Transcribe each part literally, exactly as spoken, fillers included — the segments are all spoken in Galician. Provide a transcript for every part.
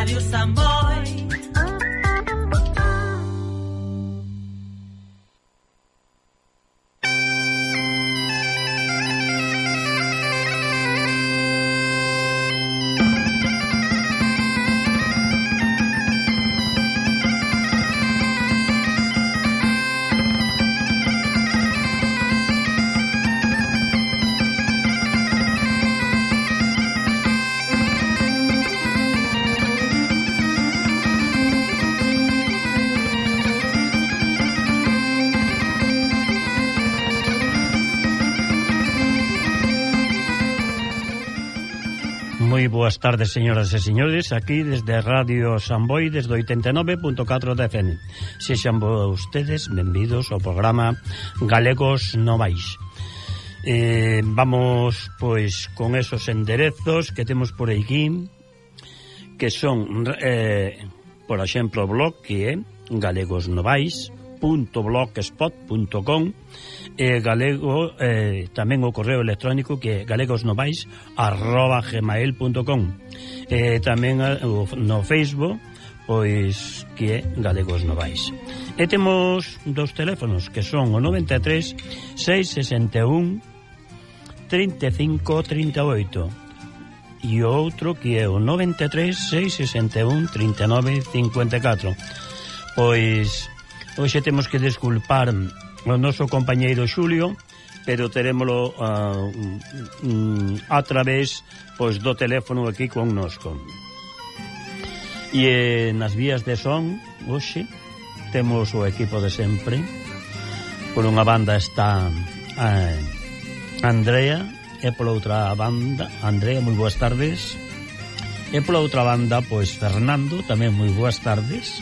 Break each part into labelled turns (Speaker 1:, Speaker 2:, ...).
Speaker 1: Radio Samboy.
Speaker 2: Moi boas tardes, señoras e señores, aquí desde Radio Samboy, desde oitenta e nove punto catro de F M. Sexan vostedes benvidos ao programa Galegos Novais. Eh, vamos, pois, con esos enderezos que temos por aquí, que son, eh, por exemplo, o blog que é galegosnovais punto blogspot punto com, e galego, eh, tamén o correo electrónico que é galegosnovais arroba gmail punto com, e tamén o, no Facebook, pois, que é Galegos Novais. E temos dos teléfonos que son o noventa e tres, seis sesenta e un, trinta e cinco, trinta e oito, e o outro que é o noventa e tres, seis sesenta e un, trinta e nove, cincuenta e catro. Pois hoxe temos que desculpar o noso compañeiro Xulio, pero terémolo uh, um, a través, pois, do teléfono aquí connosco. E eh, nas vías de son hoxe temos o equipo de sempre. Por unha banda está uh, Andrea, e pola outra banda Andrea, moi boas tardes. E pola outra banda, pois, Fernando, tamén moi boas tardes.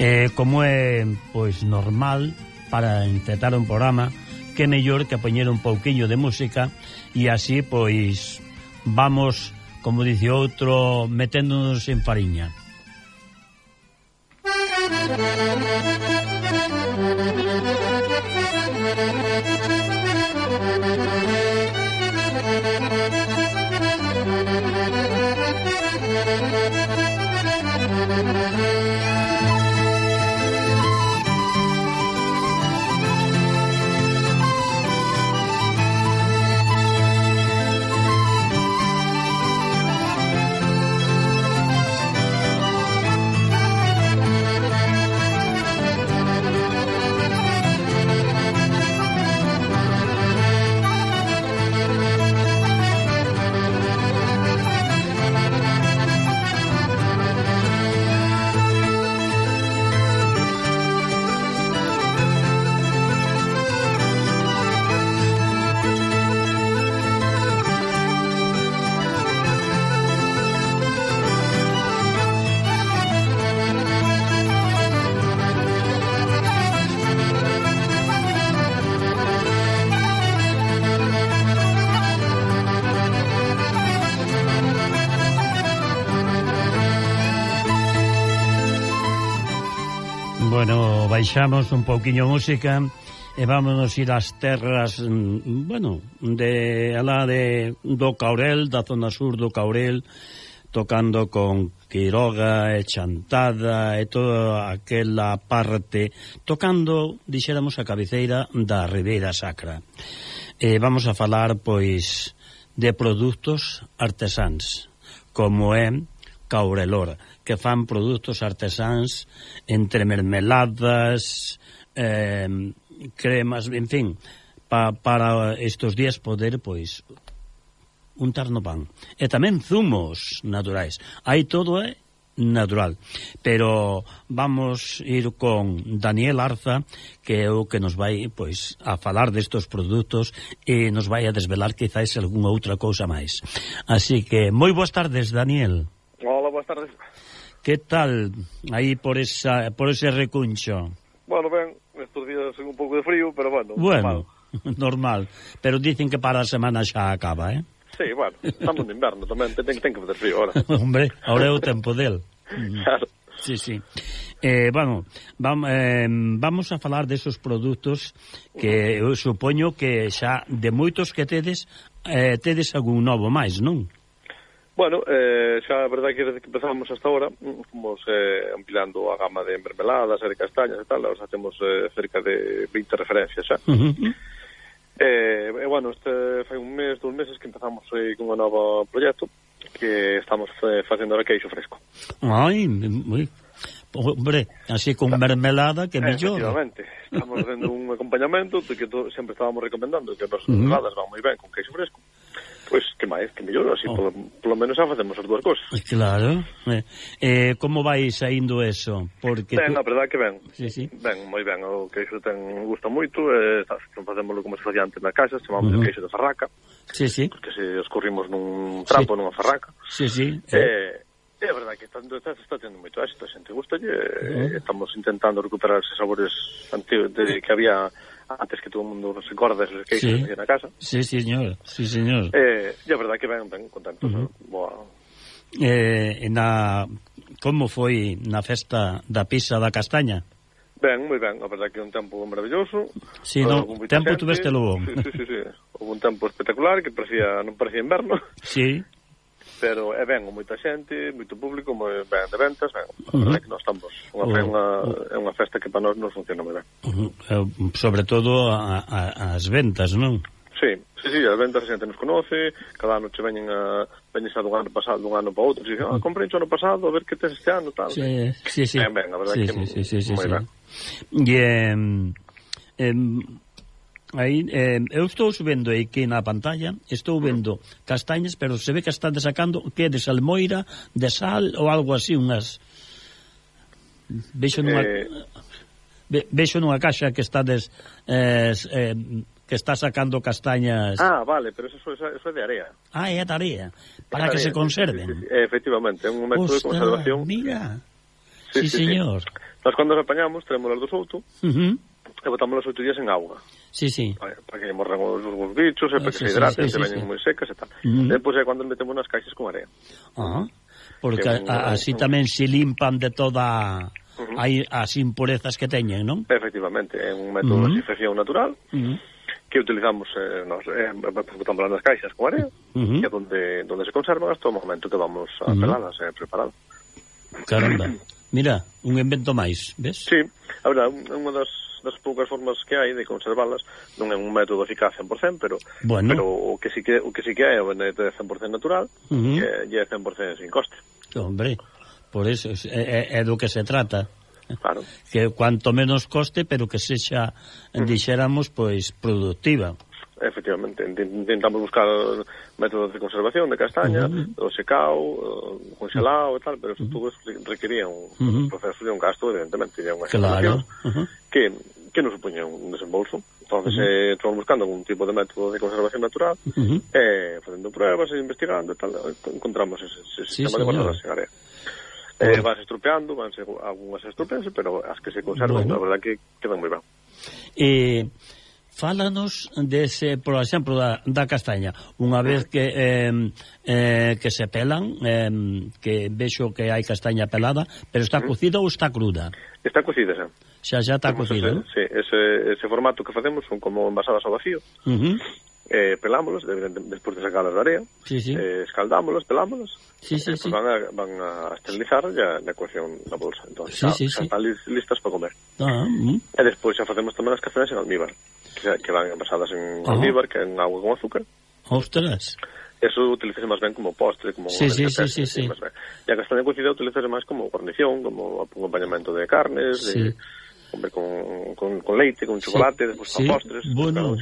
Speaker 2: Eh, como é, pois, normal para intentar un programa, que mellor que poñer un pouquiño de música, e así, pois, vamos, como dice outro, meténdonos en fariña. Bueno, baixamos un pouquiño música e vámonos ir ás terras, bueno, de alá de do Caurel, da zona sur do Caurel, tocando con Quiroga e Chantada e toda aquela parte, tocando, dixéramos, a cabeceira da Ribeira Sacra. E vamos a falar, pois, de produtos artesáns, como é Caurelor, que fan produtos artesáns entre mermeladas, eh, cremas, en fin, pa, para estes días poder, pois, untar no pan. E tamén zumos naturais. Aí todo é natural. Pero vamos ir con Daniel Arza, que é o que nos vai, pois, a falar destes produtos e nos vai a desvelar quizás algunha outra cousa máis. Así que, moi boas tardes, Daniel.
Speaker 3: Hola, boas tardes.
Speaker 2: Que tal aí por esa por ese recuncho?
Speaker 3: Bueno, ben, estes días un pouco de frío, pero bueno,
Speaker 2: bueno, normal. normal. Pero dicen que para a semana xa acaba, eh?
Speaker 3: Sí, bueno, estamos de inverno tamén, ten, ten que fazer frío ahora.
Speaker 2: Hombre, ahora é o tempo del.
Speaker 3: Claro.
Speaker 2: Sí, sí. Eh, bueno, vam, eh, vamos a falar desos produtos que eu supoño que xa de moitos que tedes, eh, tedes algún novo máis, non?
Speaker 3: Bueno, eh, xa a verdade que desde que empezamos hasta ahora fomos eh, ampliando a gama de mermeladas e de castañas e tal, xa temos eh, cerca de vinte referencias xa.
Speaker 2: Uh-huh.
Speaker 3: eh, e bueno, este fai un mes, dous meses que empezamos eh, con un novo proxecto que estamos eh, facendo ahora queixo fresco.
Speaker 2: Ai, moi... Hombre, así con mermelada que mellor.
Speaker 3: Efectivamente, estamos facendo un acompañamento de que to, sempre estábamos recomendando que as
Speaker 2: Uh-huh.
Speaker 3: mermeladas van moi ben con queixo fresco. Pois, que máis, que mellor, así, oh. polo, polo menos xa facemos as dúas cousas.
Speaker 2: Claro. Eh, eh, como vai saindo eso? Porque
Speaker 3: ben,
Speaker 2: tú...
Speaker 3: a verdade que ben.
Speaker 2: Sí, sí.
Speaker 3: Ben, moi ben, o queixo ten gusta moito, eh, facémoslo como se facía antes na casa, chamamos uh-huh. o queixo de farraca.
Speaker 2: Sí, sí.
Speaker 3: Porque se escorrimos nun trapo, sí. nunha farraca.
Speaker 2: Sí, sí.
Speaker 3: Eh, é a verdade que está, está, está tendo moito éxito, a xente gusta e uh-huh. estamos intentando recuperar esos sabores antigos de, que había antes que todo o mundo se acorda desos queixos sí. que na casa.
Speaker 2: Sí, señor, sí, señor.
Speaker 3: Eh, e a verdade que ben, ben contentos. Uh-huh. Boa.
Speaker 2: Eh, na como foi na festa da pizza da castaña?
Speaker 3: Ben, moi ben, a verdade que é un tempo maravilloso.
Speaker 2: Sí, no, tempo tuvestelo bon.
Speaker 3: Sí, sí, sí, sí. Houve un tempo espectacular que parecía, non parecía inverno.
Speaker 2: Sí.
Speaker 3: Pero é ben, moita xente, moito público, moi ben de ventas, ben, a
Speaker 2: Uh-huh.
Speaker 3: verdade que nós estamos unha,
Speaker 2: Uh-huh.
Speaker 3: é unha, é unha festa que para nós nos funciona moi ben.
Speaker 2: Uh-huh. Eh, sobre todo a, a, as ventas, non?
Speaker 3: Sí, sí, sí, as ventas a xente nos conoce, cada ano che veñen a veñen xa dun ano pasado, dun ano para outro, e dicen, ah, comprei o ano pasado, a ver que tes este ano, tal.
Speaker 2: Sí, sí, sí.
Speaker 3: Ben, ben, a verdade
Speaker 2: sí,
Speaker 3: que
Speaker 2: sí, sí, sí,
Speaker 3: moi
Speaker 2: sí,
Speaker 3: ben.
Speaker 2: E eh, eh, aí, eh, eu estou vendo aquí na pantalla, estou vendo castañas, pero se ve que están sacando que de salmoira, de sal ou algo así, unhas vexo nunha
Speaker 3: Eh...
Speaker 2: ve, vexo nunha caixa que está des, eh, eh, que está sacando castañas.
Speaker 3: Ah, vale, pero eso, eso, eso é de area.
Speaker 2: Ah, é a tarea para
Speaker 3: é
Speaker 2: que
Speaker 3: area,
Speaker 2: se conserven.
Speaker 3: Sí, sí, sí. Efectivamente, é un método
Speaker 2: Ostras,
Speaker 3: de conservación.
Speaker 2: Mira.
Speaker 3: Sí,
Speaker 2: Sí,
Speaker 3: sí,
Speaker 2: señor.
Speaker 3: Sí. Nós cando as apañamos, tenemos do souto,
Speaker 2: Uh-huh.
Speaker 3: e botámoslas oito días en agua.
Speaker 2: Sí, sí.
Speaker 3: Para, para que morran os, os bichos, e
Speaker 2: Ah,
Speaker 3: para
Speaker 2: sí,
Speaker 3: que se
Speaker 2: sí,
Speaker 3: hidraten,
Speaker 2: sí,
Speaker 3: se
Speaker 2: sí,
Speaker 3: veñen
Speaker 2: sí.
Speaker 3: moi secas e tal.
Speaker 2: Uh-huh.
Speaker 3: Depois é cando metemos nas caixas con area.
Speaker 2: Ah, porque
Speaker 3: Que un-
Speaker 2: a, así
Speaker 3: un-
Speaker 2: tamén se limpan de toda
Speaker 3: Uh-huh.
Speaker 2: hai as impurezas que teñen, non?
Speaker 3: Efectivamente, é un método
Speaker 2: Uh-huh.
Speaker 3: de desinfección natural
Speaker 2: Uh-huh.
Speaker 3: que utilizamos eh, nos, eh, botámoslas nas caixas con area,
Speaker 2: Uh-huh.
Speaker 3: que é donde, donde se conservan hasta o momento que vamos a
Speaker 2: Uh-huh.
Speaker 3: peladas e eh, preparadas.
Speaker 2: Caramba. Mira, un invento máis, ves?
Speaker 3: Sí, a verdade, unha das, das poucas formas que hai de conservalas non é un método eficaz cen por cento, pero
Speaker 2: Bueno.
Speaker 3: pero o que si que o que si que é o de cen por cento natural,
Speaker 2: Uh-huh.
Speaker 3: e é cen por cento sin coste.
Speaker 2: Hombre, por eso é, é, é do que se trata.
Speaker 3: Claro.
Speaker 2: Que cuanto menos coste, pero que sexa, dixéramos, pois, productiva.
Speaker 3: Efectivamente, intentamos buscar métodos de conservación de castaña, uh-huh. o secao, o congelado e tal, pero eso todo requería un uh-huh. proceso de un gasto, evidentemente, e unha
Speaker 2: Claro.
Speaker 3: Uh-huh. que, que nos supoña un desembolso. Entonces, uh-huh. eh, estamos buscando algún tipo de método de conservación natural, uh-huh. eh, facendo pruebas e investigando e tal, encontramos ese, ese
Speaker 2: sí,
Speaker 3: sistema de conservación área. Eh, vas estropeando, van ser algunhas estropeanse, pero as que se conservan, bueno. a verdad que quedan moi ben.
Speaker 2: Eh, fálanos dese, por exemplo, da, da castaña. Unha vez que eh, eh, que se pelan, eh, que vexo que hai castaña pelada, pero está cocida ou está cruda?
Speaker 3: Está cocida xa.
Speaker 2: Xa xa está cocida, non?
Speaker 3: Sí, ese, ese formato que facemos son como envasadas ao vacío. Uh-huh. Eh, pelámolos, despois de sacarlas da area,
Speaker 2: sí, sí.
Speaker 3: Eh, escaldámolos, pelámolos,
Speaker 2: sí, sí,
Speaker 3: e
Speaker 2: sí.
Speaker 3: van, a, van a esterilizar ya na coacción da bolsa. Entón,
Speaker 2: sí,
Speaker 3: xa,
Speaker 2: sí,
Speaker 3: xa
Speaker 2: sí.
Speaker 3: están listas para comer.
Speaker 2: Ah, uh-huh.
Speaker 3: E despois xa facemos tamén as castañas en almíbar, que, que van envasadas en uh-huh. almíbar, que en agua con azúcar.
Speaker 2: Ostras.
Speaker 3: Eso utilizase máis ben como postre, como
Speaker 2: sí, sí, sí, sí, sí.
Speaker 3: E a castaña cocida utilizase máis como guarnición, como acompañamento de carnes,
Speaker 2: sí.
Speaker 3: de comer con, con, con leite, con chocolate, sí. despois
Speaker 2: sí.
Speaker 3: con postres.
Speaker 2: Bueno.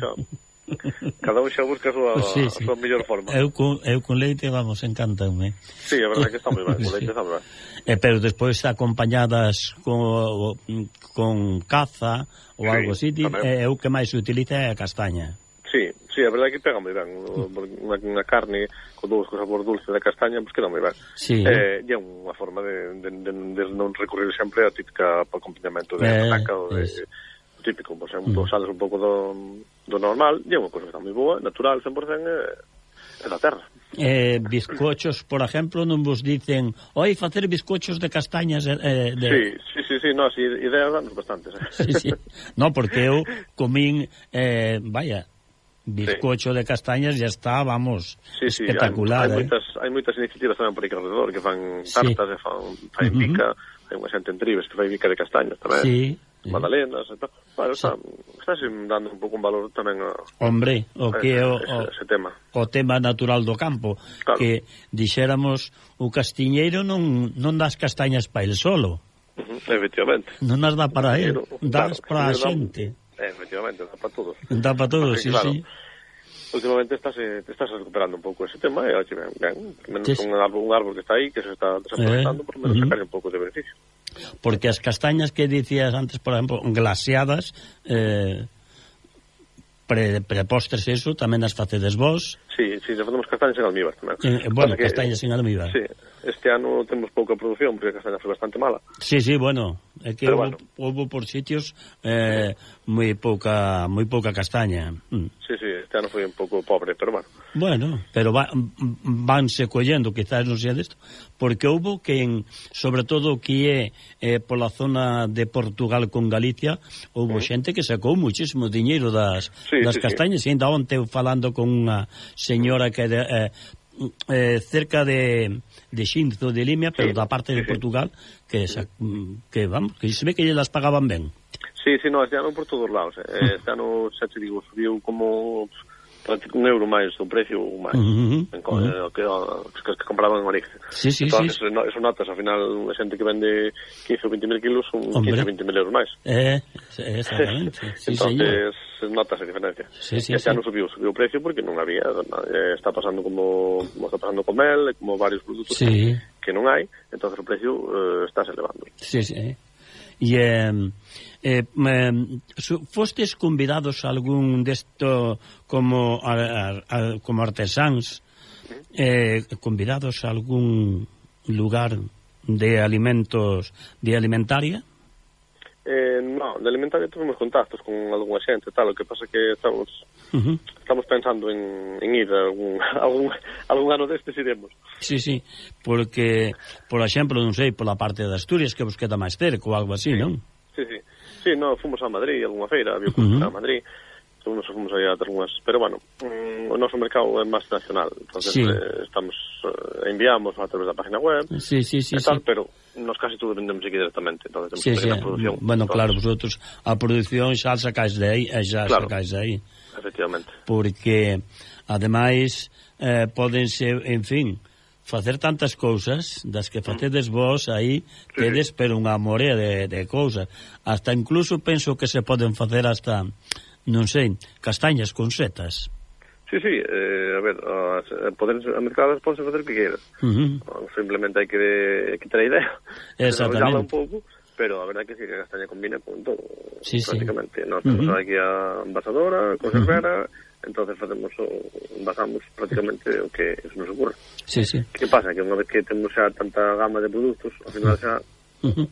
Speaker 3: Cada un xa busca a súa,
Speaker 2: sí, sí.
Speaker 3: a súa mellor forma.
Speaker 2: Eu con, eu con leite, vamos, encantame.
Speaker 3: Sí, a verdade que está moi ben, con leite sí. está moi ben.
Speaker 2: Eh, pero despois acompañadas con, con caza ou sí, algo así, é o que máis se utiliza é a castaña.
Speaker 3: Sí, sí, a verdade que pega moi ben. Unha, unha carne con dous con sabor dulce da castaña, pois pues queda moi ben.
Speaker 2: Sí.
Speaker 3: Eh, e é unha forma de, de, de, de non recurrir sempre a típica acompañamento de eh, pataca ou de... Es. típico, por exemplo, mm. sales un pouco do, do normal, e é unha cosa que está moi boa, natural, cen por cento, é, é da terra.
Speaker 2: Eh, bizcochos, por exemplo, non vos dicen, oi, facer bizcochos de castañas eh, de...
Speaker 3: Sí, sí, sí, sí, no, así, ideas danos bastantes. Eh.
Speaker 2: Sí, sí. No, porque eu comín, eh, vaya, bizcocho sí. de castañas ya está, vamos, sí, sí, espectacular.
Speaker 3: Hai, hai,
Speaker 2: eh?
Speaker 3: moitas, hai moitas iniciativas tamén por aí alrededor que fan tartas, sí. e fan, fan uh -huh. bica, hai unha xente en Tribes que fai bica de castañas tamén, sí, magdalenas e tal. Bueno, sí. está, está dando un pouco un valor tamén a,
Speaker 2: hombre, o que é o,
Speaker 3: ese, ese tema.
Speaker 2: O tema natural do campo, claro. Que dixéramos o castiñeiro non, non das castañas para el solo.
Speaker 3: Uh -huh. Efectivamente.
Speaker 2: Non as dá para el, das claro, para a xente.
Speaker 3: Efectivamente, dá para todos.
Speaker 2: Dá para todos, sí,
Speaker 3: claro,
Speaker 2: sí.
Speaker 3: Últimamente estás, eh, te estás recuperando un pouco ese tema e, oye, ben, ben, menos sí, un, árbol, un árbol que está aí, que se está desaprovechando, eh, por lo menos uh -huh. sacar un pouco de beneficio.
Speaker 2: Porque as castañas que dicías antes, por exemplo, glaseadas, eh, pre, prepostres eso, tamén as facedes vos.
Speaker 3: Sí, sí, se facemos castañas en almíbar tamén.
Speaker 2: Eh, bueno, que, castañas en almíbar.
Speaker 3: Sí, este ano temos pouca produción, porque a castaña foi bastante mala.
Speaker 2: Sí, sí, bueno, é que houve, bueno. houve por sitios eh, moi pouca moi pouca castaña. Mm.
Speaker 3: Sí, sí, este ano foi un pouco pobre, pero bueno.
Speaker 2: Bueno, pero va, vanse collendo, quizás non sea desto, porque houve que, en, sobre todo que é eh, pola zona de Portugal con Galicia, houve uh -huh. xente que sacou muchísimo diñeiro das, sí, das sí, castañas, sí. E ainda onte falando con unha señora que de, eh, eh, cerca de, de Xinzo de Limia, pero sí, da parte de sí, Portugal, que, esa, que vamos, que se ve que las pagaban ben.
Speaker 3: Sí, sí, no, este ano por todos lados. Eh. Este ano, xa te digo, subiu como un euro máis o precio máis, uh -huh, en, uh -huh. que, que, que compraban en origen.
Speaker 2: Sí, sí,
Speaker 3: entonces,
Speaker 2: sí.
Speaker 3: No, eso notas, ao final, a xente que vende quince ou veinte mil kilos son quince ou veinte mil euros máis.
Speaker 2: Eh, exactamente. Sí,
Speaker 3: entonces, señor. Notas a diferencia.
Speaker 2: Sí, sí,
Speaker 3: este
Speaker 2: sí.
Speaker 3: ano subiu, subiu o precio porque non había, eh, está pasando como, como está pasando con mel, como varios produtos sí. que, que non hai, entonces o precio eh, está se elevando.
Speaker 2: Sí, sí. E eh, eh, eh, fostes convidados a algún desto como a, a, a, como artesáns, eh, convidados a algún lugar de alimentos, de alimentaria?
Speaker 3: Eh, no, de alimentaria tuvimos contactos con algunha xente e tal, o que pasa que estamos uh -huh. estamos pensando en, en ir a algún, algún, algún ano destes iremos.
Speaker 2: Sí, sí, porque, por exemplo, non sei, pola parte de Asturias que vos queda máis cerca ou algo así,
Speaker 3: sí.
Speaker 2: non?
Speaker 3: Sí, sí, sí, no, fomos a Madrid, algunha feira, había uh -huh. a Madrid, fomos, fomos aí a algunhas, pero bueno, mm, o noso mercado é máis nacional, entonces sí. eh, estamos, eh, enviamos a través da página web,
Speaker 2: sí, sí, sí,
Speaker 3: e tal,
Speaker 2: sí.
Speaker 3: pero nos casi todo vendemos aquí directamente, entonces temos
Speaker 2: sí,
Speaker 3: que ir
Speaker 2: sí.
Speaker 3: a producción.
Speaker 2: Bueno, entonces, claro, vosotros a producción xa sacáis de aí, xa claro, sacáis de aí.
Speaker 3: Efectivamente.
Speaker 2: Porque, ademais, eh, podense, en fin, facer tantas cousas das que facedes vos aí, sí, tedes, sí. pero unha morea de, de cousas. Hasta incluso penso que se poden facer hasta, non sei, castañas con setas.
Speaker 3: Sí, sí, eh, a ver, as, poder, a mercadas pode facer o que queiras. Uh -huh. Simplemente hai que, que ter a idea.
Speaker 2: Exactamente.
Speaker 3: Un pouco, pero a verdade é que sí, que a castaña combina con todo,
Speaker 2: sí,
Speaker 3: prácticamente.
Speaker 2: Sí.
Speaker 3: Nós temos uh -huh. aquí a envasadora, conservera, uh -huh. entonces facemos o, envasamos prácticamente o que se nos ocurre.
Speaker 2: Sí, sí.
Speaker 3: Que pasa? Que unha vez que temos xa tanta gama de produtos, ao final xa... Uh -huh.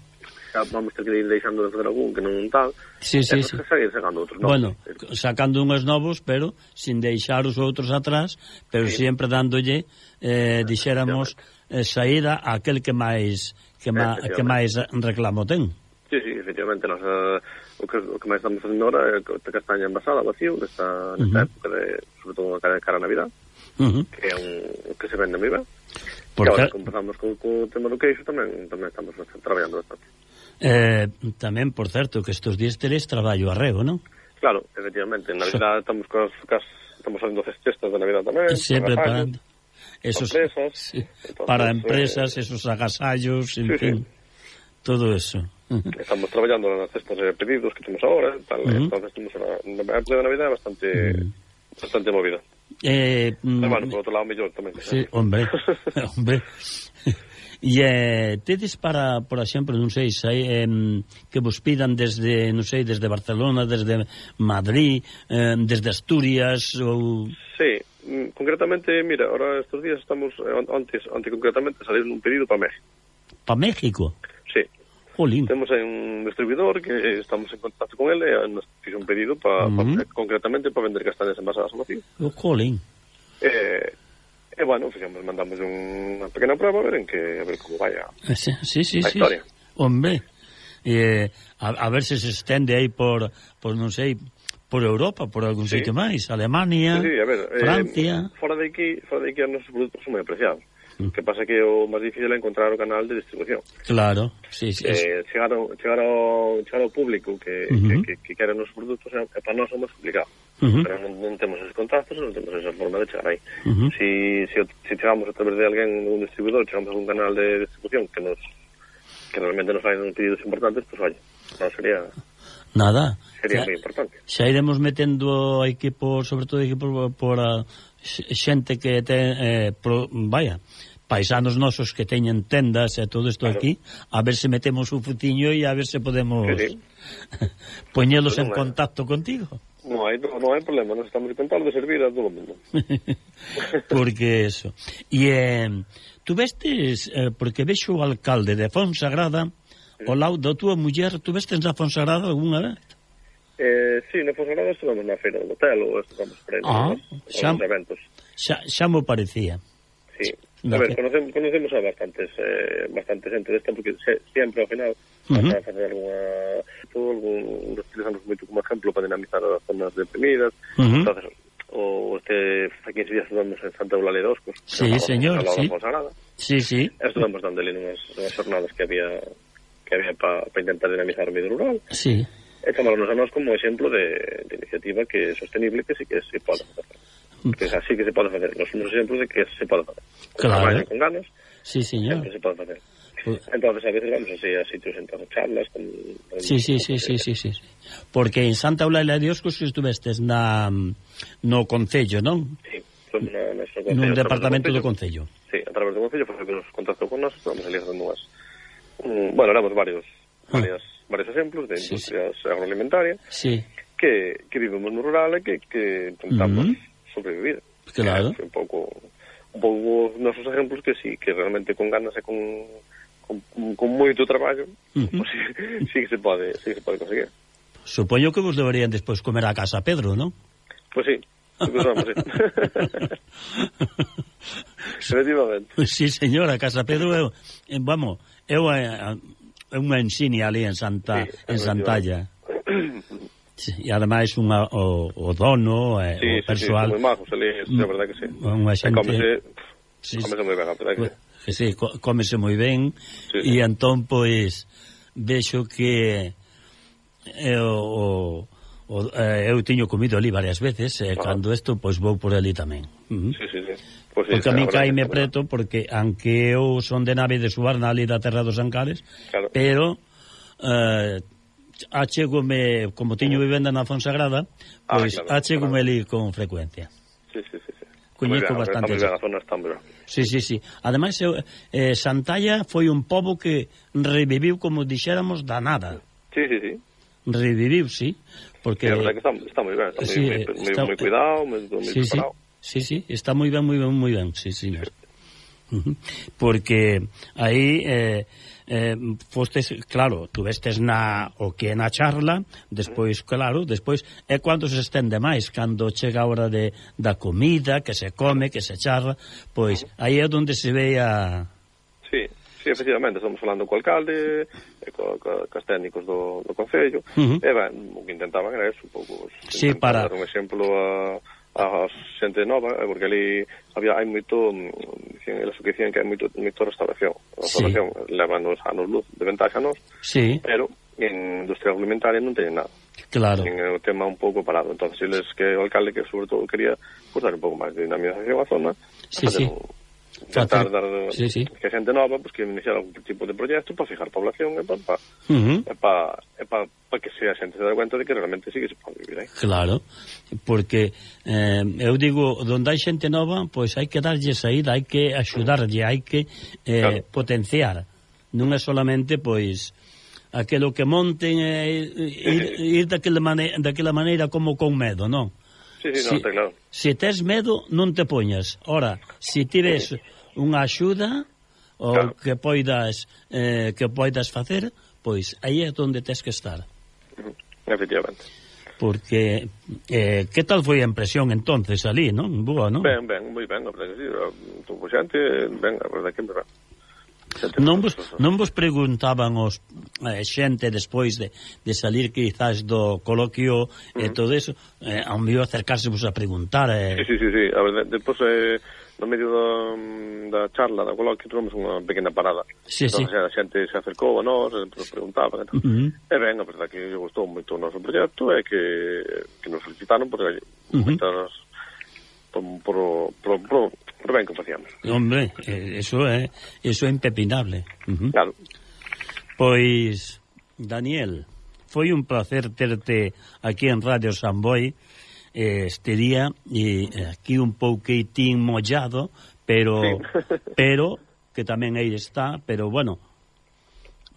Speaker 3: xa vamos ter que ir deixando de fazer algún que non tal,
Speaker 2: sí, sí, sí.
Speaker 3: seguir sacando outros novos.
Speaker 2: Bueno, sacando unhos novos, pero sin deixar os outros atrás, pero sí. sempre dándolle, eh, dixéramos, eh, saída a aquel que máis que, ma, que máis reclamo ten.
Speaker 3: Sí, sí, efectivamente, nos, uh, o, que, o que máis estamos facendo ahora é a castaña envasada, vacío, nesta, nesta uh -huh. época, de, sobre todo cara, cara a Navidad, uh -huh. que é un que se vende moi ben. E agora, como empezamos co, co tema do queixo, tamén, tamén estamos bastante, traballando bastante.
Speaker 2: Eh, tamén, por certo, que estes días teres traballo arreo, non?
Speaker 3: Claro, efectivamente, en Navidad so... estamos cos, cos, estamos facendo cestas de Navidad tamén.
Speaker 2: Sempre para esos,
Speaker 3: empresas,
Speaker 2: sí, entonces, para empresas, eh... esos agasallos, en sí, fin, sí. todo eso.
Speaker 3: Estamos traballando nas cestas de pedidos que temos agora, tal, uh -huh. entonces temos unha época de Navidad bastante uh -huh. bastante movida.
Speaker 2: Eh,
Speaker 3: Pero bueno, por outro lado, mellor tamén.
Speaker 2: Sí, hombre, hombre. E eh, tedes para, por exemplo, non sei, sei eh, que vos pidan desde, non sei, desde Barcelona, desde Madrid, eh, desde Asturias ou...
Speaker 3: Sí, concretamente, mira, ahora estes días estamos, antes, antes concretamente, salir un pedido para México.
Speaker 2: ¿Para México?
Speaker 3: Sí.
Speaker 2: Jolín.
Speaker 3: Temos un distribuidor que estamos en contacto con ele e nos fixe un pedido pa, uh -huh. pa, concretamente para vender castañas envasadas ao vacío.
Speaker 2: Oh, jolín.
Speaker 3: Eh... E, bueno, fixemos, mandamos unha pequena prueba a ver en que, a ver como vai a,
Speaker 2: sí, sí, sí,
Speaker 3: a historia.
Speaker 2: Sí. Hombre, eh, a, a ver se se estende aí por, por non sei, por Europa, por algún
Speaker 3: sí.
Speaker 2: sitio máis, Alemania,
Speaker 3: sí, sí, a ver,
Speaker 2: Francia.
Speaker 3: Eh, fora de aquí, fora de aquí os nosos produtos son moi apreciados. Mm. Que pasa que o máis difícil é encontrar o canal de distribución.
Speaker 2: Claro, sí, sí.
Speaker 3: Eh, chegar, ao, chegar, ao, chegar ao público que, uh -huh. que, que, que quere os nosos produtos é, é para nós é máis complicado. Uh -huh. Pero non, non temos esos contactos, non temos esa forma de chegar aí. Uh -huh. Si, si, si chegamos a través de alguén, un distribuidor, chegamos a un canal de distribución que nos que realmente nos fagan pedidos importantes, pues vaya, non sería...
Speaker 2: Nada.
Speaker 3: Sería moi importante.
Speaker 2: Xa iremos metendo equipo, sobre todo equipo por a xente que ten, eh, pro, vaya, paisanos nosos que teñen tendas e todo isto claro. Aquí, a ver se metemos un futiño e a ver se podemos sí, sí. poñelos pues en hai. Contacto contigo.
Speaker 3: Non hai, non hai problema, nos estamos intentando servir a todo o mundo.
Speaker 2: Porque eso. E eh, tú vestes, eh, porque vexo o alcalde de Fonsagrada, sí. O lado da túa muller, tú vestes na Fonsagrada algunha vez?
Speaker 3: Eh, sí, na Fonsagrada estuvamos na feira do hotel ou estuvamos por aí ah, nos, xa, nos eventos.
Speaker 2: Xa, xa mo parecía.
Speaker 3: Sí. A ver, conocemos, conocemos a bastantes eh, bastante gente desta porque se, sempre ao final uh -huh. para facer alguna todo, algún utilizamos moito como exemplo para dinamizar as zonas deprimidas uh -huh. entonces o este aquí en días estuvamos en Santa Eulalia de Oscos
Speaker 2: sí, señor, sí. sí, sí
Speaker 3: estuvamos dando ali unhas, unhas jornadas que había que había para pa intentar dinamizar o medio rural
Speaker 2: sí.
Speaker 3: E chamámonos a nós como exemplo de, de iniciativa que é sostenible que sí que se pode facer que así que se pode facer nos somos exemplos de que se pode facer con
Speaker 2: claro.
Speaker 3: Traballo, con ganas
Speaker 2: sí, señor
Speaker 3: se pode facer uh. entonces a veces vamos así a sitios en charlas con, con,
Speaker 2: sí, sí, sí, sí, sí, sí porque en Santa Eulalia de Oscos que estuvestes na, no Concello, non?
Speaker 3: Sí, somos na, na concello,
Speaker 2: nun departamento do Concello
Speaker 3: sí, a través do Concello foi que nos contactou con nós estamos ali facendo unhas um, bueno, éramos varios varias, ah. varios exemplos de industrias sí, sí. agroalimentarias
Speaker 2: sí.
Speaker 3: que, que vivimos no rural e que, que intentamos uh -huh. sobrevivir
Speaker 2: claro.
Speaker 3: un pouco un pouco nosos exemplos que sí, que realmente con ganas e con con, con moito traballo uh -huh. pues, sí, sí que se pode sí que se pode conseguir.
Speaker 2: Supoño que vos deberían despois comer a casa Pedro, non?
Speaker 3: Pois pues sí, vamos, sí. Efectivamente.
Speaker 2: Pues sí, señora, a casa Pedro eu, vamos, eu é unha ensinia ali en Santa sí, en Santalla. Sí, e ademais unha, o, o dono e
Speaker 3: sí,
Speaker 2: o persoal
Speaker 3: sí, sí, moi majos ali, é verdade que sí.
Speaker 2: Unha xente
Speaker 3: Cómese, sí, cómese moi ben, a verdade que sí.
Speaker 2: Que sí, cómese moi ben sí, sí. E entón, pois, vexo que eu, o, o, eu tiño comido ali varias veces e ah. Cando isto, pois vou por ali tamén. Uh -huh.
Speaker 3: Sí, sí, sí. Pues sí,
Speaker 2: porque a mí caime preto porque aunque eu son de nave de Suarna ali da Terra dos Ancares claro. Pero eh, achegome, como tiño vivenda na Fonsagrada pois ah, claro, achegome claro. Ali con frecuencia
Speaker 3: sí, sí, sí, sí.
Speaker 2: Coñeco bastante
Speaker 3: a zona está moi ben.
Speaker 2: Sí, sí, sí. Ademais eh, Santalla foi un pobo que reviviu como dixéramos da nada.
Speaker 3: Sí, sí, sí.
Speaker 2: Reviviu, sí, porque
Speaker 3: sí, a verdade que está, está moi ben, está sí, moi, moi, está, moi cuidado, moi, moi
Speaker 2: sí,
Speaker 3: preparado.
Speaker 2: Sí. Sí, sí, está moi ben, moi ben, moi ben, sí, señor. Uh -huh. Porque aí eh, eh, fostes, claro, tú vestes na o que é na charla, despois, claro, despois é cando se estende máis, cando chega a hora de, da comida, que se come, que se charla, pois aí é onde se ve a...
Speaker 3: Sí, sí, efectivamente, estamos falando co alcalde, e co, co, co técnicos do, do Concello, uh -huh. e ben, o que intentaban era eso, un pouco,
Speaker 2: sí, para
Speaker 3: dar un exemplo a... a xente nova, porque ali había hai moito, dicían, eles que dicían que hai moito, moito restauración. A restauración sí. Leva nos anos luz de ventaxa nos,
Speaker 2: sí.
Speaker 3: Pero en industria alimentaria non teñen nada.
Speaker 2: Claro.
Speaker 3: En o tema un pouco parado. Entonces, eles que o alcalde que sobre todo quería pues, dar un pouco máis de dinamización á zona,
Speaker 2: sí, sí.
Speaker 3: Un, tratar de dar
Speaker 2: sí, sí.
Speaker 3: que xente nova pues, que iniciar algún tipo de proxecto para fijar población e para pa, uh
Speaker 2: -huh.
Speaker 3: pa, pa, pa que sea xente se dá cuenta de que realmente sí que se pode vivir aí.
Speaker 2: Claro, porque eh, eu digo, donde hai xente nova pois hai que darlle saída, hai que axudarlle, hai que eh, claro. Potenciar, non é solamente pois aquilo que monten eh, ir, ir daquela, mane daquela maneira como con medo, non?
Speaker 3: Sí, sí, no,
Speaker 2: si,
Speaker 3: está claro.
Speaker 2: Si tes medo, non te poñas. Ora, si tires unha axuda ou claro. que poidas eh, que poidas facer, pois aí é onde tes que estar.
Speaker 3: Uh -huh. Efectivamente.
Speaker 2: Porque eh, que tal foi a impresión entonces ali, non? Boa, non?
Speaker 3: Ben, ben, moi ben, a verdade que sí. Tuvo xente, ben, a verdade que ben.
Speaker 2: Non vos, non vos preguntaban os eh, xente despois de, de salir quizás do coloquio uh-huh. e todo eso, eh, ao mellor acercársevos a preguntar eh...
Speaker 3: Sí, sí, sí, sí. A ver, de, despois eh, no medio do, da charla da coloquio tuvemos unha pequena parada.
Speaker 2: Sí,
Speaker 3: entón,
Speaker 2: sí.
Speaker 3: A xente se acercou a nós, nos preguntaban e, uh-huh. e ben, a verdade que lle gustou moito o noso proxecto e que, que nos felicitaron porque uh-huh. moitas por, por, por, por, por ben que facíamos.
Speaker 2: Hombre, eso é eso é impepinable. Uh-huh.
Speaker 3: Claro.
Speaker 2: Pois, Daniel, foi un placer terte aquí en Radio Samboy este día, e aquí un pouquitín mollado, pero sí. pero que tamén aí está, pero bueno,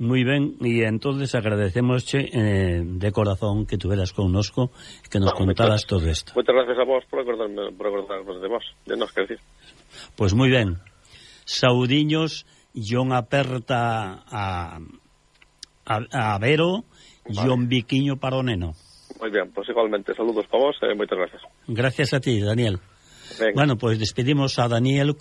Speaker 2: moi ben, e entonces agradecemosche eh, de corazón que tuveras connosco, que nos no, contaras todo isto.
Speaker 3: Moitas gracias a vos por acordarme, por acordarme de vos, de nos que decir.
Speaker 2: Pois moi ben. Saudiños e unha aperta a, a, a Vero e vale. Un biquiño para o neno.
Speaker 3: Moi ben, pois igualmente saludos para vos e moitas gracias.
Speaker 2: Gracias a ti, Daniel.
Speaker 3: Venga.
Speaker 2: Bueno, pois despedimos a Daniel